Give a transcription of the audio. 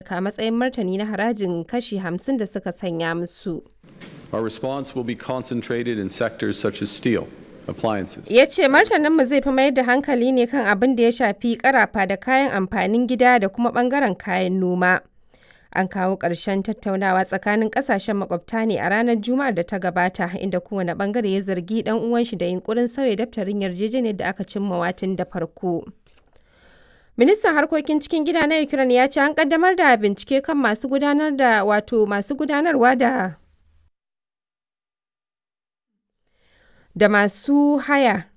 Amurka a matsayin martani na harajin kashi 50 da suka sanya musu. Our response will be concentrated in sectors such as steel, appliances, Ya ce martaninmu zai fi mayar da hankali ne kan abin da ya shafi karafa da kayan amfanin gida da kuma bangaren kayan noma. An kawo ƙarshen tattaunawa tsakanin ƙasashen makwabta ne a ranar Juma'ar da ta gabata, inda kowane bangare ya zargi ɗan uwanshi da yunkurin sauya daftarin yarjejeniyar da aka cimma tun da farko. Ministan harkokin cikin gida na Ukraine ya ce an kaddamar da bincike kan masu gudanar da wato masu gudanarwa da masu haya